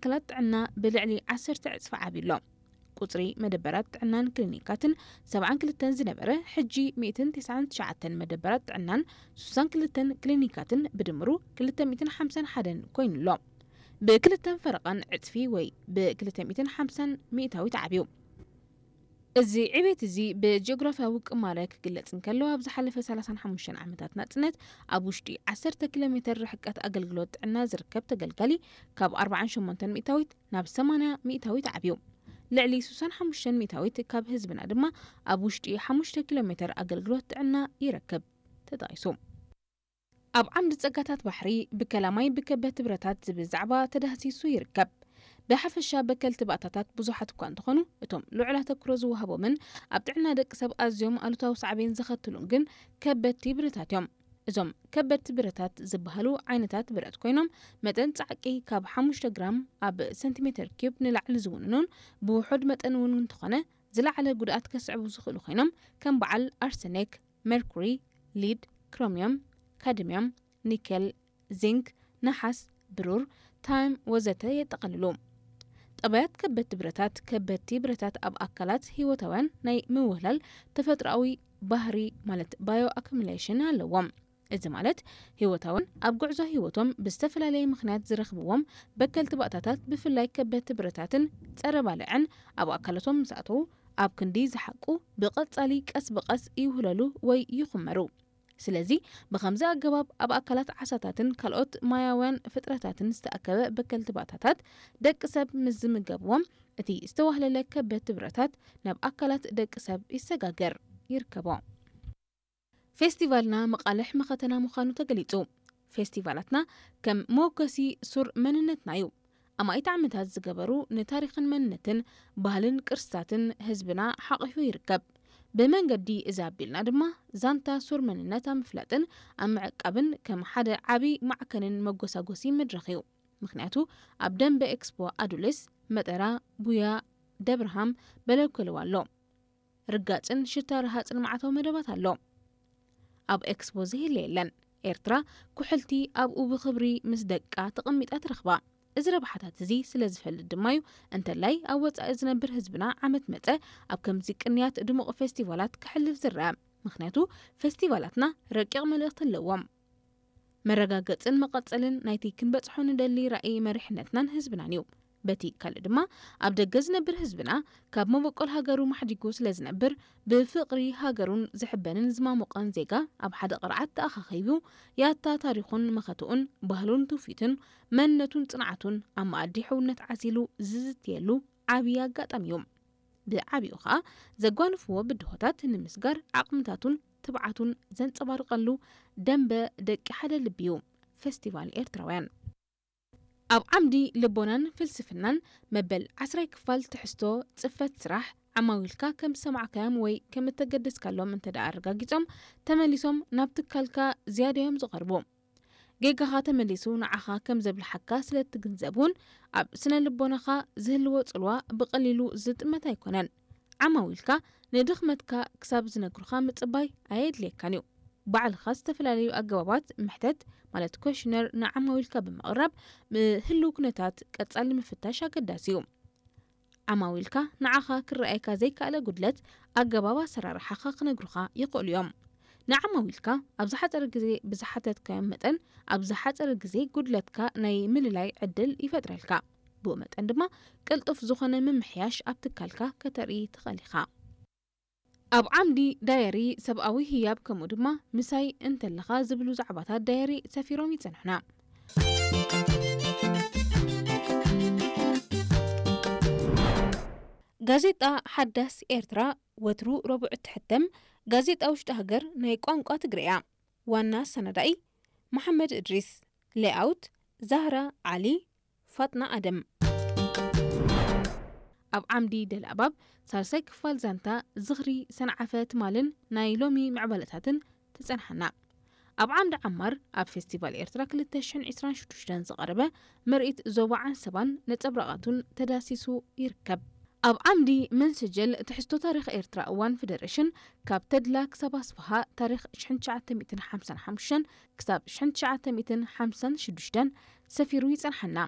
ትካላት ጥዕና ብልዕሊ ዓሰርተ ዕጽፊ ዓብዩ ኣሎ። ቁጽሪ መደበራት ጥዕናን ክሊኒካትን ሰብዓን ክልተን ዝነበረ፣ ሕጂ ሚእትን ተስዓን ትሽዓተን መደበራት ጥዕናን ሱሳን ክልተን ክሊኒካትን ብድምሩ ክልተ ሚእትን ሓምሳን ሓደን ኮይኑ ኣሎ። ብክልተን ፈረቓን ዕጽፊ ወይ ብክልተ ሚእትን ሓምሳን ሚእታዊት ዓብዩ። እዚ ዕቤት እዚ ብጂኦግራፍያዊ ቅማረ ክግለጽ እንከሎ፣ ኣብ ዝሓለፈ ሰላሳን ሓሙሽተን ዓመታት ናጽነት ኣብ ውሽጢ ዓሰርተ ኪሎ ሜተር ርሕቀት ኣገልግሎት ጥዕና ዝርከብ ተገልጋሊ ካብ ኣርባዓን ሸሞንተን ሚእታዊት ናብ ሰማንያ ሚእታዊት ዓብዩ። ልዕሊ ሱሳን ሓሙሽተን ሚእታዊት ካብ ህዝብና ድማ ኣብ ውሽጢ ሓሙሽተ ኪሎ ሜተር ኣገልግሎት ጥዕና ይረክብ ተጠቒሱ። ኣብ ዓምዲ ጸጋታት ባሕሪ ብከላማይ ብከበድቲ ብረታት ዝብል ዛዕባ ተዳህሲሱ ይርከብ። ብሓፈሻ በከልቲ ባእታታት ብዙሓት እኳ እንተኾኑ፣ እቶም ልዑል ኣተኩሮ ዝወሃቦምን ኣብ ጥዕና ደቂ ሰብ ኣዝዮም ኣሉታዊ ሳዕቤን ዘኸትሉን ግን ከበድቲ ብረታት እዮም። እዞም ከበድቲ ብረታት ዝበሃሉ ዓይነታት ብረት ኮይኖም፣ መጠን ጻዕቂ ካብ ሓሙሽተ ግራም ኣብ ሰንቲሜተር ኪዩብ ንላዕሊ ዝውንኑን ብውሑድ መጠን እውን እንተኾነ ዝለዓለ ጉድኣት ከስዕቡ ዝኽእሉ ኮይኖም፣ ከም በዓል ኣርሰኔክ፣ ሜርኩሪ፣ ሊድ፣ ክሮሚየም፣ ካድሚየም፣ ኒኬል፣ ዚንክ፣ ነሓስ፣ ብሩር፣ ታይም ወዘተ የጠቓልሉ። ጠባያት ከበድቲ ብረታት። ከበድቲ ብረታት ኣብ ኣካላት ህይወታውያን ናይ ምውህላል ተፈጥሮኣዊ ባህሪ፣ ማለት ባዮ ኣኩሙሌሽን ኣለዎም። እዚ ማለት ህይወታውን ኣብ ጉዕዞ ህይወቶም ብዝተፈላለየ ምኽንያት ዝረኽብዎም በከልቲ ባእታታት፣ ብፍላይ ከበድቲ ብረታትን ጸረ ባልዕን ኣብ ኣካላቶም ምስ ኣተዉ፣ ኣብ ክንዲ ዝሓቁ ብቐጻሊ ቀስ ብቐስ ይውህለሉ ወይ ይኹመሩ። ስለዚ ብኸምዚ ኣገባብ ኣብ ኣካላት ዓሳታትን ካልኦት ማያውያን ፍጥረታትን ዝተኣከበ በከልቲ ባእታታት ደቂ ሰብ ምስ ዝምገብዎም፣ እቲ ዝተዋህለለ ከበድቲ ብረታት ናብ ኣካላት ደቂ ሰብ ይሰጋገር ይርከቦ። ፌስቲቫልና መቓልሕ መኸተና ምዃኑ ተገሊጹ። ፌስቲቫላትና ከም መወከሲ ሱር መንነትና እዩ። ኣማኢት ዓመታት ዝገበሩ ንታሪኽን መንነትን ባህልን ቅርስታትን ህዝብና ሓቒፉ ይርከብ። ብመንገዲ እዚ ኣቢልና ድማ ዛንታ ሱር መንነት ኣብ ምፍላጥን ኣብ ምዕቃብን ከም ሓደ ዓቢ ማዕከንን መጎሳጎሲ መድረኽ እዩ። ምኽንያቱ ኣብ ደንበ ኤክስፖ ኣዱሊስ፣ መጠራ፣ ቡያ፣ ደብርሃም፣ በለኮለዋ ኣሎ። ርጋጽን ሽታ ረሃጽን መዓታዊ መደባት ኣሎ። ኣብ ኤክስፖ ዘየለ የለን። ኤርትራ ኩሕልቲ ኣብኡ ብኽብሪ ምስ ደቃ ተቐሚጣ ትረኽባ። እዚ ረብሓታት እዚ ስለ ዝፈልጥ ድማ እዩ፣ እንተላይ ኣብ ወጻኢ ዝነብር ህዝብና ዓመት መጸ ኣብ ከምዚ ቅንያት ድሙቕ ፌስቲቫላት ክሕልፍ ዝረአ። ምኽንያቱ ፌስቲቫላትና ረቂቕ መልእኽቲ ኣለዎም። መረጋገጽን መቐጸልን ናይቲ ክንበጽሖ ንደሊ ራእይ መሪሕነትናን ህዝብናን እዩ። በቲ ካልእ ድማ ኣብ ደገ ዝነብር ህዝብና ካብ መበቆል ሃገሩ ማሕዲጉ ስለ ዝነብር ብፍቕሪ ሃገሩን ዝሕበንን ዝማሞቐን ዜጋ ኣብ ሓደ ቅርዓት ተኣኻኺቡ ያታ ታሪኹን መኸትኡን ባህሉን ትውፊቱን መንነቱን ጽንዓቱን ኣብ መኣዲ ሕውነት ዓሲሉ ዝዝትየሉ ዓብዪ ኣጋጣሚ እዩ። ብዓቢኡ ኸኣ ዘጓንፍዎ ብድሆታት ንምስጋር ዓቕምታቱን ትብዓቱን ዘንጸባርቐሉ ደንበ ደቂ ሓደ ልቢ እዩ። ፌስቲቫል ኤርትራውያን። ኣብ ዓምዲ ልቦናን ፍልስፍናን መበል ዓስራይ ክፋል ትሕዝቶ ጽፈት ስራሕ ዓማዊልካ ከም ዝሰማዕካዮም ወይ ከም እተገደስካሎም እንተ ደኣ ኣረጋጊጾም ተመሊሶም ናብ ትካልካ ዝያዳ እዮም ዝቐርቡ። ጌጋኻ ተመሊሱ ንዓኻ ከም ዘብልሓካ ስለ እትግንዘብ እውን ኣብ ስነ ልቦናኻ ዝህልዎ ጽልዋ ብቐሊሉ ዝጥመት ኣይኮነን። ዓማዊልካ ንድኽመትካ ክሳብ ዝነግሩኻ ምጽባይ ኣየድልየካን እዩ። ባዕልኻ ዝተፈላለዩ ኣገባባት ምሕተት ማለት ኮሽነር ንዓማዊልካ ብምቕራብ ብህልው ኩነታት ቀጻሊ ምፍታሽ ኣገዳሲ እዩ። ዓማዊልካ ንዓኻ ክረኣየካ ዘይከኣለ ጉድለት ኣገባብ ኣሰራርሓኻ ክነግሩኻ ይኽእሉ እዮም። ንዓማዊልካ ኣብ ዝሓጸረ ግዜ ብዝሓተትካዮም መጠን ኣብ ዝሓጸረ ግዜ ጉድለትካ ናይ ምልላይ ዕድል ይፈጥረልካ። ብኡ መጠን ድማ ቅልጡፍ ዝኾነ ምምሕያሽ ኣብ ትካልካ ከተርኢ ትኽእል ኢኻ። ኣብ ዓምዲ ዳየሪ ሰብኣዊ ህያብ ከምኡ ድማ ምሳይ እንተለኻ ዝብሉ ዛዕባታት ዳየሪ ሰፊሮም ይጸንሑና። ጋዜጣ ሓዳስ ኤርትራ ወትሩ ረቡዕ እትሕተም ጋዜጣ ውሽጢ ሃገር ናይ ቋንቋ ትግርኛ። ዋና ኣሰናዳኢ መሓመድ እድሪስ። ሌኣውት ዛህራ ዓሊ፣ ፋጥና ኣደም። ኣብ ዓምዲ ደልኣባብ ሳልሳይ ክፋል ዛንታ ዝኽሪ ሰንዓፈ ትማልን ናይ ሎሚ ምዕባለታትን ትጸንሓና። ኣብ ዓምዲ ዓማር ኣብ ፌስቲቫል ኤርትራ ክልተ ሽሕን ዕስራን ሽዱሽተን ዝቐረበ ምርኢት ዞባ ዓንሰባን ነጸብራቓቱን ተዳሲሱ ይርከብ። ኣብ ዓምዲ መንሰጀል ትሕዝቶ ታሪኽ ኤርትራ እዋን ፈደረሽን ካብ ተድላ ክሳብ ኣስፍሃ ታሪኽ ሽሕን ትሽዓተ ሚእትን ሓምሳን ሓሙሽተን ክሳብ ሽሕን ትሽዓተ ሚእትን ሓምሳን ሽዱሽተን ሰፊሩ ይጸንሓና።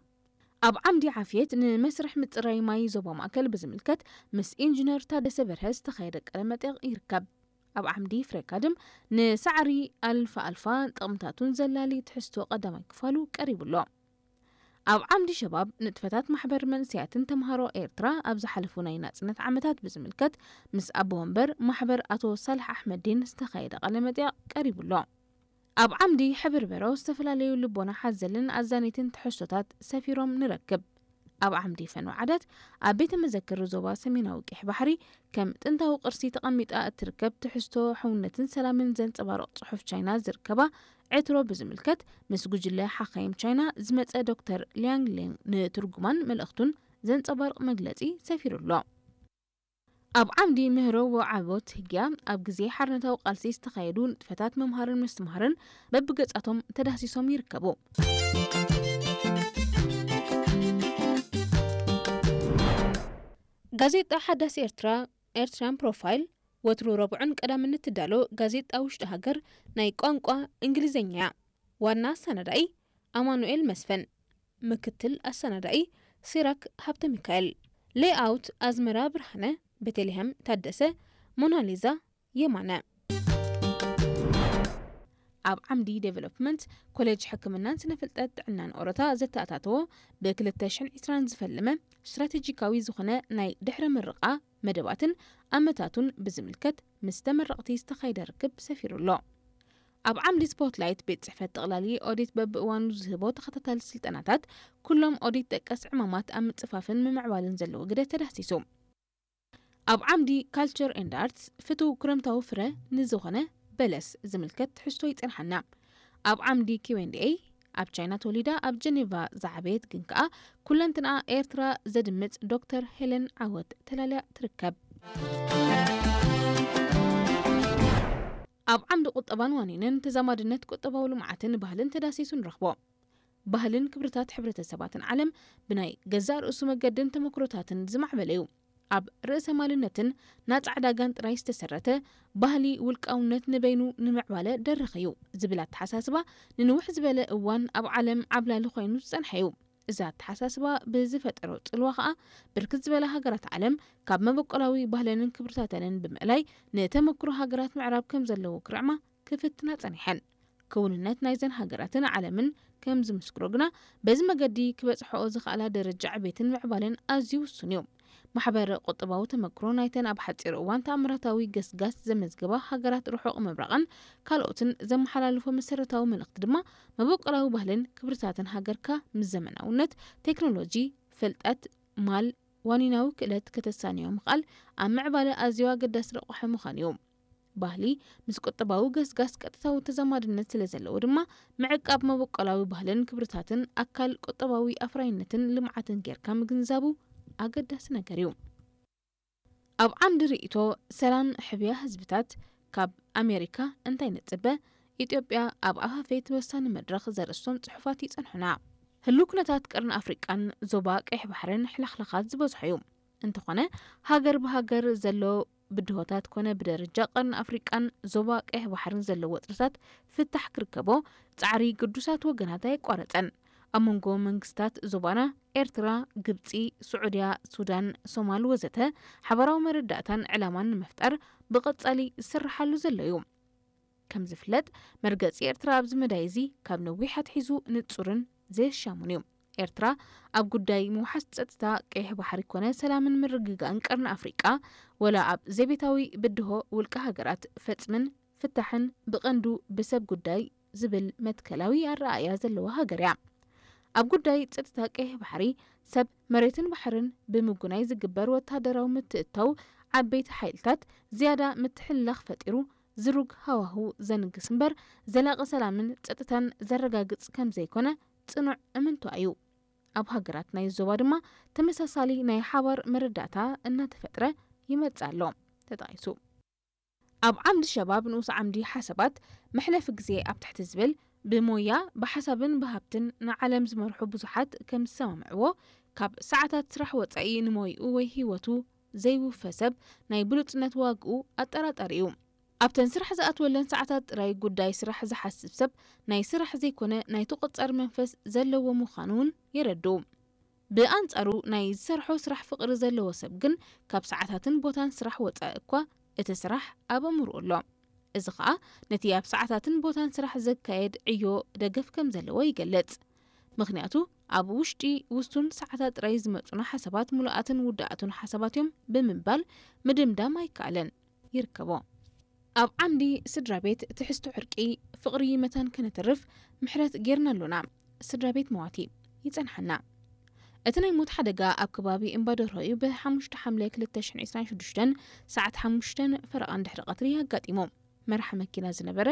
ኣብ ዓምዲ ዓፍየት ንመስርሕ ምጽራይ ማይ ዞባ ማእከል ብዝምልከት ምስ ኢንጂነር ታደሰ በርሀ ዝተኻየደ ቃለ መጠይቕ ይርከብ። ኣብ ዓምዲ ፍሬካድም ንሳዕሪ ኣልፋ ኣልፋ ጥቕምታቱን ዘላሊ ትሕዝቶ ቀዳማይ ክፋሉ ቀሪቡ ኣሎ። ኣብ ዓምዲ ሸባብ ንጥፈታት ማሕበር መንእሰያትን ተምሃሮ ኤርትራ ኣብ ዝሓለፉ ናይ ናጽነት ዓመታት ብዝምልከት ምስ ኣቦ ወንበር ማሕበር ኣቶ ሳልሕ ኣሕመዲን ዝተኻየደ ቃለ መጠይቕ ቀሪቡ ኣሎ። ኣብ ዓምዲ ሕብርበሮ ዝተፈላለዩ ልቦና ሓዘልን ኣዛነይትን ትሕዝቶታት ሰፊሮም ንረክብ። ኣብ ዓምዲ ፈንወ ዓዳት ኣብ ቤተ መዘክር ዞባ ሰሜናዊ ቀይሕ ባሕሪ ከም ጥንታዊ ቅርሲ ተቐሚጣ እትርከብ ትሕዝቶ ሕውነትን ሰላምን ዘንጸባርቕ ጽሑፍ ቻይና ዝርከባ ዕትሮ ብዝምልከት ምስ ጉጅለ ሓኻይም ቻይና ዝመጸ ዶክተር ሊያንግ ሌንግ ንትርጉማን መልእኽቱን ዘንጸባርቕ መግለጺ ሰፊሩ ኣሎ። ኣብ ዓምዲ ምህሮ ወዓቦት ህግያ ኣብ ግዜ ሓርነታዊ ቃልሲ ዝተኻየዱ ንጥፈታት ምምሃርን ምስትምሃርን በብገጻቶም ተዳህሲሶም ይርከቡ። ጋዜጣ ሓዳስ ኤርትራ ኤርትራን ፕሮፋይል ወትሩ ረቡዕን ቀዳምን እትዳሎ ጋዜጣ ውሽጢ ሃገር ናይ ቋንቋ እንግሊዝኛ እያ። ዋና ኣሰናዳኢ ኣማኑኤል መስፍን፣ ምክትል ኣሰናዳኢ ሲራክ ሃብተ ሚካኤል፣ ሌይኣውት ኣዝመራ ብርሃነ፣ ቤተልሔም ታደሰ፣ ሞናሊዛ የማነ። ኣብ ዓምዲ ዴቨሎፕመንት ኮሌጅ ሕክምናን ስነ ፍልጠት ጥዕናን ኦሮታ ዘተኣታተዎ ብ ክልተ ሽሕን ዕስራን ዝፈለመ ስትራቴጂካዊ ዝኾነ ናይ ድሕረ ምርቓ መደባትን ኣመታቱን ብዝምልከት ምስ ተመረቕቲ ዝተኻየደ ርክብ ሰፊሩ ኣሎ። ኣብ ዓምዲ ስፖትላይት ቤት ጽሕፈት ጠቕላሊ ኦዲት በብእዋኑ ዝህቦ ተኸታታሊ ስልጠናታት ኩሎም ኦዲት ጠቀስ ዕማማት ኣብ ምጽፋፍን ምምዕባልን ዘለዎ ግደ ተዳህሲሱ። ኣብ ዓምዲ ካልቸር ኤንድ ኣርትስ ፍቱው ክረምታዊ ፍረ ንዝኾነ በለስ ዝምልከት ትሕዝቶ ይጸንሓና። ኣብ ዓምዲ ኪው ኤንድ ኤይ ኣብ ቻይና ተወሊዳ ኣብ ጀኔቫ ዝዓበየት ግን ከኣ ኩለንትንኣ ኤርትራ ዘድምጽ ዶክተር ሄለን ዓወት ተላልያ ትርከብ። ኣብ ዓምዲ ቁጠባን ዋኒንን ተዛማድነት ቁጠባዊ ልምዓትን ባህልን ተዳሲሱ ንረኽቦ። ባህልን ክብርታት ሕብረተሰባትን ዓለም ብናይ ገዛእ ርእሱ መገድን ተመክሮታትን ዝማዕበለ እዩ። ኣብ ርእሰ ማልነትን ናጻ ዕዳጋን ጥራይ ዝተሰረተ ባህሊ ውልቃውነት ንበይኑ ንምዕባለ ደረኽ እዩ ዝብል ኣተሓሳስባ ንንውሕ ዝበለ እዋን ኣብ ዓለም ዓብላሊ ኮይኑ ዝጸንሐ እዩ። እዚ ኣተሓሳስባ ብዝፈጠሮ ጽልዋ ከኣ ብርክት ዝበላ ሃገራት ዓለም ካብ መበቆላዊ ባህለንን ክብርታተንን ብምእላይ ንተመክሮ ሃገራት ምዕራብ ከም ዘለዎ ክርዕማ ክፍትና ጸኒሐን። ክውንነት ናይዘን ሃገራትን ዓለምን ከም ዝምስክሮ ግና በዚ መገዲ ክበጽሕኦ ዝኽኣላ ደረጃ ዕቤትን ምዕባለን ኣዝዩ ውሱን እዩ። ማሕበረ ቁጠባዊ ተመክሮ ናይተን ኣብ ሓጺር እዋን ተኣምራታዊ ገስጋስ ዘመዝገባ ሃገራት ርሑቕ ምብራቕን ካልኦትን ዘመሓላልፎ መሰረታዊ መልእኽቲ ድማ መበቆላዊ ባህልን ክብርታትን ሃገርካ ምስ ዘመናውነት፣ ቴክኖሎጂ፣ ፍልጠት፣ ማል፣ ዋኒናዊ ክእለት ከተሳንዮ ምኽኣል ኣብ ምዕባለ ኣዝዩ ኣገዳሲ ረቋሒ ምዃኑ እዩ። ባህሊ ምስ ቁጠባዊ ገስጋስ ቀጥታዊ ተዛማድነት ስለ ዘለዎ ድማ ምዕቃብ መበቆላዊ ባህልን ክብርታትን ኣካል ቁጠባዊ ኣፍራይነትን ልምዓትን ጌርካ ምግንዛቡ ኣገዳሲ ነገር እዩ። ኣብ ዓንዲ ርእይቶ ሰላም ሕብያ ህዝብታት ካብ ኣሜሪካ እንታይ ንጽበ? ኢትዮጵያ ኣብ ኣፋፈይት ወሳኒ መድረኽ ዘርእስቶም ጽሑፋት ይጸንሑና። ህሉው ኩነታት ቀርኒ ኣፍሪቃን ዞባ ቀይሕ ባሕርን ሕልኽላኻት ዝበዝሖ እዩ። እንተኾነ ሃገር ብሃገር ዘሎ ብድሆታት ኮነ ብደረጃ ቀርኒ ኣፍሪቃን ዞባ ቀይሕ ባሕርን ዘሎ ወጥርታት ፍታሕ ክርከቦ ጻዕሪ ግዱሳት ወገናት ኣየቋረጸን። ኣብ መንጎ መንግስታት ዞባና ኤርትራ፣ ግብጺ፣ ስዑድያ፣ ሱዳን፣ ሶማል ወዘተ ሓባራዊ መረዳእታን ዕላማን ንምፍጣር ብቐጻሊ ዝስርሓሉ ዘሎ እዩ። ከም ዝፍለጥ መርገጺ ኤርትራ ኣብዚ መዳይ እዚ ካብ ነዊሕ ኣትሒዙ ንጹርን ዘየሻሙን እዩ። ኤርትራ ኣብ ጉዳይ ምውሓስ ጸጥታ ቀይሕ ባሕሪ ኮነ ሰላምን ምርግጋእን ቀርኒ ኣፍሪቃ ወላ ኣብ ዘቤታዊ ብድሆ ውልቀ ሃገራት ፈጽምን ፍታሕን ብቐንዱ ብሰብ ጉዳይ ዝብል መትከላዊ ኣረኣእያ ዘለዋ ሃገር እያ። ኣብ ጉዳይ ጸጥታ ቀይሕ ባሕሪ ሰብ መሬትን ባሕርን ብምጉናይ ዝግበር ወታደራዊ ምትእትታው ዓበይቲ ሓይልታት ዝያዳ ምትሕልላኽ ፈጢሩ ዝሩግ ሃዋሁ ዘንግስ እምበር ዘላቒ ሰላምን ጸጥታን ዘረጋግጽ ከም ዘይኮነ ጽኑዕ እምንቷ እዩ። ኣብ ሃገራት ናይ ዞባ ድማ ተመሳሳሊ ናይ ሓባር መረዳእታ እናተፈጥረ ይመጽእ ኣሎ ተጠቒሱ። ኣብ ዓምዲ ሸባብ ንኡስ ዓምዲ ሓሳባት መሕለፊ ግዜ ኣብ ትሕቲ ዝብል ብሞያ ብሓሳብን ብሃብትን ንዓለም ዝመርሑ ብዙሓት ከም ዝሰማምዕዎ ካብ ሰዓታት ስራሕ ወጻኢ ንሞይኡ ወይ ህይወቱ ዘይውፈ ሰብ ናይ ብሉጽነት ዋግኡ ኣጠራጣሪ እዩ። ኣብተን ስራሕ ዝኣትወለን ሰዓታት ጥራይ ጉዳይ ስራሕ ዝሓስብ ሰብ ናይ ስራሕ ዘይኮነ ናይ ተቖጻሪ መንፈስ ዘለዎ ምዃኑ እውን የረድኡ። ብኣንጻሩ ናይ ዝሰርሖ ስራሕ ፍቕሪ ዘለዎ ሰብ ግን ካብ ሰዓታትን ቦታን ስራሕ ወጻኢ እኳ እቲ ስራሕ ኣብ ኣእምሮኡ ኣሎ። እዚ ኸኣ ነቲ ኣብ ሰዓታትን ቦታን ስራሕ ዘካየድ ዕዮ ደገፍ ከም ዘለዎ ይገልጽ። ምኽንያቱ ኣብ ውሽጢ ውሱን ሰዓታት ጥራይ ዝመጹና ሓሳባት ምሉኣትን ውዳኣቱን ሓሳባት እዮም ብምባል ምድምዳም ኣይከኣለን። ይርከቦ። ኣብ ዓምዲ ስድራ ቤት ትሕዝቶ ዕርቂ ፍቕሪ መታን ከነትርፍ ምሕረት ጌርና ኣሎና። ስድራ ቤት መዋቲ ይጸንሓና። እቲ ናይ ሞት ሓደጋ ኣብ ከባቢ እምባደርሆ እዩ ብሓሙሽተ ሓምለ ክልተ ሽሕን ዕስራን ሽዱሽተን ሰዓት ሓሙሽተ ፈረቓ እንድሕሪ ቀትሪ ኣጋጢሙ። መራሒ መኪና ዝነበረ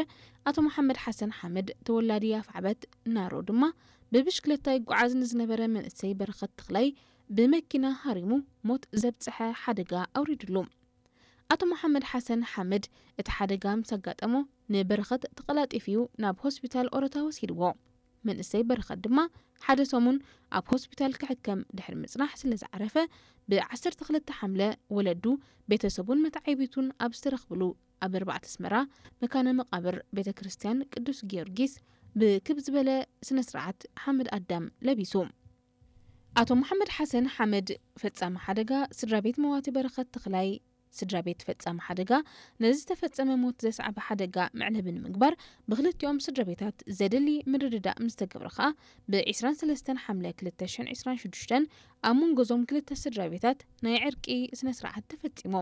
ኣቶ መሓመድ ሓሰን ሓመድ ተወላዲ ኣፍዓበት ናሮ ድማ ብብሽክለታ ይጓዓዝ ንዝነበረ መንእሰይ በረኸት ተኽላይ ብመኪና ሃሪሙ ሞት ዘብጽሐ ሓደጋ ኣውሪድሉ። ኣቶ መሓመድ ሓሰን ሓመድ እቲ ሓደጋ ምስ ኣጋጠሞ ንበረኸት ተቐላጢፉ ናብ ሆስፒታል ኦሮታ ወሲድዎ። መንእሰይ በረኸት ድማ ሓደ ሰሙን ኣብ ሆስፒታል ክሕከም ድሕሪ ምጽናሕ ስለ ዝዓረፈ ብ ዓሰርተ ክልተ ሓምለ ወለዱ ቤተሰቡን መተዓይቢቱን ኣብ ዝተረኽብሉ ኣብ ኣርባዕተ ኣስመራ መካነ መቓብር ቤተ ክርስቲያን ቅዱስ ጊዮርጊስ ብክብ ዝበለ ስነ ስርዓት ሓመድ ኣዳም ለቢሱ። ኣቶ መሓመድ ሓሰን ሓመድ ፈጻሚ ሓደጋ ስድራ ቤት መዋቲ በረኸት ተኽላይ ስድራ ቤት ፈጻሚ ሓደጋ ነዚ ዝተፈጸመ ሞት ዘስዓበ ሓደጋ መዕለቢ ንምግባር ብክልቲኦም ስድራ ቤታት ዘድሊ ምርድዳእ ምስ ተገብረ ኸኣ ብ ዕስራን ሰለስተን ሓምለ ክልተ ሽሕን ዕስራን ሽዱሽተን ኣብ መንጎ እዞም ክልተ ስድራ ቤታት ናይ ዕርቂ ስነ ስርዓት ተፈጺሙ።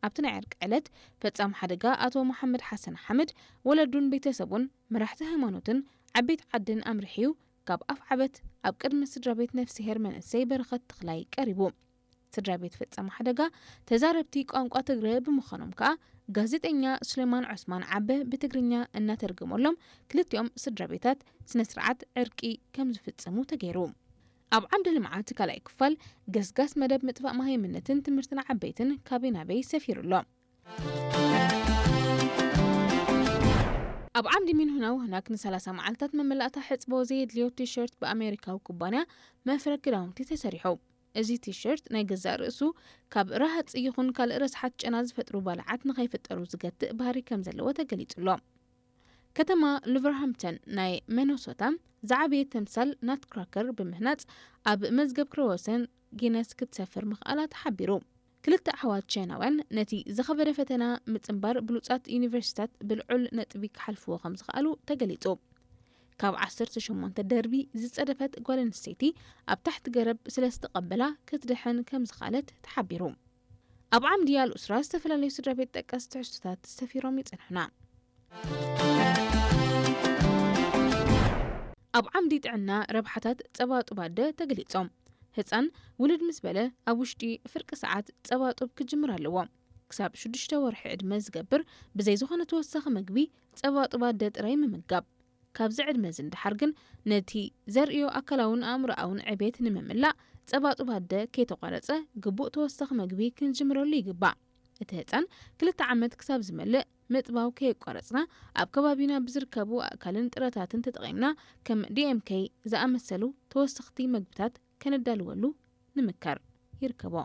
ኣብቲ ናይ ዕርቂ ዕለት ፈጻሚ ሓደጋ ኣቶ መሓመድ ሓሰን ሓመድ ወለዱን ቤተሰቡን መራሕቲ ሃይማኖትን ዓበይቲ ዓድን ኣምሪሕዩ ካብ ኣፍዓበት ኣብ ቅድሚ ስድራ ቤት ነፍስሄር መንእሰይ በረኸት ተኽላይ ቀሪቡ። ስድራ ቤት ፈጻሚ ሓደጋ ተዛረብቲ ቋንቋ ትግረ ብምዃኖም ከኣ ጋዜጠኛ ሱሌማን ዑስማን ዓበ ብትግርኛ እናተርገመሎም ክልቲኦም ስድራ ቤታት ስነ ስርዓት ዕርቂ ከም ዝፍጽሙ ተገይሩ። ኣብ ዓምዲ ልምዓት ካልኣይ ክፋል ገስጋስ መደብ ምጥፋእ መሃይምነትን ትምህርትን ዓበይትን ካበይ ናበይ ሰፊሩ ኣሎ። ኣብ ዓምዲ ሚን ሁና ውህናክ ንሰላሳ መዓልታት መመላእታ ሕጽቦ ዘየድልዮ ቲሸርት ብኣሜሪካዊ ኩባንያ መፍረ ክዳውንቲ ተሰሪሑ። እዚ ቲሸርት ናይ ገዛእ ርእሱ ካብ ረሃጽ ይኹን ካልእ ረስሓት ጨና ዝፈጥሩ ባልዓት ንኸይፍጠሩ ዝገትእ ባህሪ ከም ዘለዎ ተገሊጹ ኣሎ። ከተማ ሉቨርሃምፕተን ናይ ሚነሶታ ዝዓበየ ተምሳል ናትክራከር ብምህናጽ ኣብ መዝገብ ክሮሰን ጊነስ ክትሰፍር ምኽኣላ ተሓቢሩ። ክልተ ኣሕዋት ቻይናውያን ነቲ ዝኸበደ ፈተና ምጽንባር ብሉጻት ዩኒቨርሲታት ብልዑል ነጥቢ ክሓልፍዎ ከም ዝኽኣሉ ተገሊጹ። ካብ ዓሰርተ ሸሞንተ ደርቢ ዝጸደፈት ጓል ኣንስተይቲ ኣብ ታሕቲ ገረብ ስለ ዝተቐበላ ክትድሕን ከም ዝኽኣለት ተሓቢሩ። ኣብ ዓምዲ ኣልኡስራ ዝተፈላለዩ ስድራ ቤት ጠቀስ ትሕዝቶታት ሰፊሮም ይጸንሑና። ኣብ ዓምዲ ጥዕና ረብሓታት ጸባ ጡብ ኣደ ተገሊጾም። ህጻን ውልድ ምስ በለ ኣብ ውሽጢ ፍርቂ ሰዓት ጸባ ጡብ ክጅምር ኣለዎ። ክሳብ ሽዱሽተ ወርሒ ዕድመ ዝገብር ብዘይ ዝኾነ ተወሳኺ መግቢ ጸባ ጡብ ኣደ ጥራይ ምምጋብ። ካብዚ ዕድመ እዚ ንደሓር ግን ነቲ ዘርእዮ ኣካላውን ኣእምሮኣውን ዕቤት ንምምላእ ጸባ ጡብ ኣደ ከይተቋረጸ ግቡእ ተወሳኺ መግቢ ክንጅምረሉ ይግባእ። እቲ ህጻን ክልተ ዓመት ክሳብ ዝመልእ ምጥባው ከየቋረጽና ኣብ ከባቢና ብዝርከቡ ኣእካልን ጥረታትን ተጠቒምና ከም ዲ ኤም ኬ ዝኣመሰሉ ተወሰኽቲ መግብታት ከነዳልወሉ ንምከር። ይርከቦ።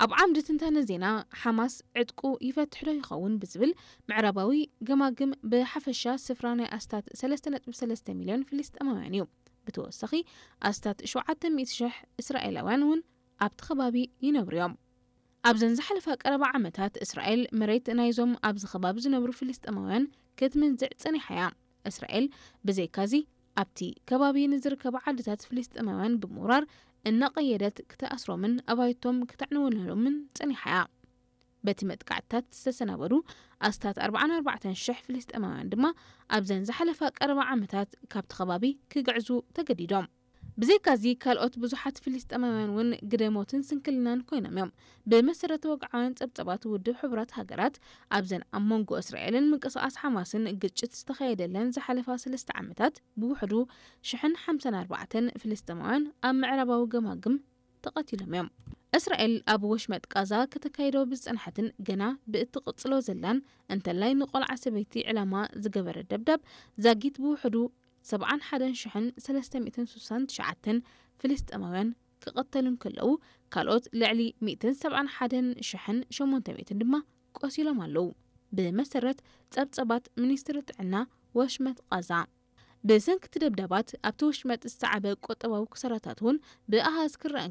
ኣብ ዓምዲ ትንታነ ዜና ሓማስ ዕጥቁ ይፈትሕ ዶ ይኸውን ብዝብል ምዕራባዊ ገማግም ብሓፈሻ ስፍራ ናይ ኣስታት ሰለስተ ነጥቢ ሰለስተ ሚልዮን ፍልስጤማውያን እዩ። ብተወሳኺ ኣስታት ሸውዓተ ሚእቲ ሽሕ እስራኤላውያን እውን ኣብቲ ከባቢ ይነብሩ እዮም። ኣብዘን ዝሓለፋ ቀረባ ዓመታት እስራኤል መሬት ናይዞም ኣብዚ ከባቢ ዝነብሩ ፍልስጤማውያን ክትምንዝዕ ጸኒሓ እያ። እስራኤል ብዘይካዚ ኣብቲ ከባቢ ንዝርከባ ዓድታት ፍልስጤማውያን ብምውራር እናቐየደት ክትኣስሮምን ኣባይቶም ክተዕንወሎምን ጸኒሓ እያ። በቲ መጥቃዕትታት ዝተሰናበዱ ኣስታት ኣርባዓን ኣርባዕተን ሽሕ ፍልስጤማውያን ድማ ኣብዘን ዝሓለፋ ቀረባ ዓመታት ካብቲ ከባቢ ክግዕዙ ተገዲዶም። ብዘይካዚ ካልኦት ብዙሓት ፍልስጤማውያን እውን ግደ ሞትን ስንክልናን ኮይኖም እዮም። ብመሰረት ወግዓውያን ጸብጸባት ውድብ ሕቡራት ሃገራት ኣብዘን ኣብ መንጎ እስራኤልን ምንቅስቓስ ሓማስን ግጭት ዝተኻየደለን ዝሓለፋ ሰለስተ ዓመታት ብውሕዱ ሽሕን ሓምሳን ኣርባዕተን ፍልስጤማውያን ኣብ ምዕራባዊ ገማግም ተቐቲሎም እዮም። እስራኤል ኣብ ወሽመጥ ቃዛ ከተካይዶ ብዝጸንሐትን ገና ብእትቕጽሎ ዘላን እንተላይ ንቆልዓ ሰበይቲ ዕላማ ዝገበረ ደብዳብ ዛጊት ብውሕዱ ሰብዓን ሓደን ሽሕን ሰለስተ ሚእትን ስሳን ትሽዓተን ፍልስጤማውያን ክቐተሉ እንከለዉ ካልኦት ልዕሊ ሚእትን ሰብዓን ሓደን ሽሕን ሸሞንተ ሚእትን ድማ ቆሲሎም ኣለዉ። ብመሰረት ጸብጸባት ሚኒስትሪ ጥዕና ወሽመጥ ቃዛ ብሰንኪ እቲ ደብዳባት ኣብቲ ወሽመጥ ዝሰዓበ ቁጠባዊ ክሳራታት እውን ብኣሃዝ ክረኣን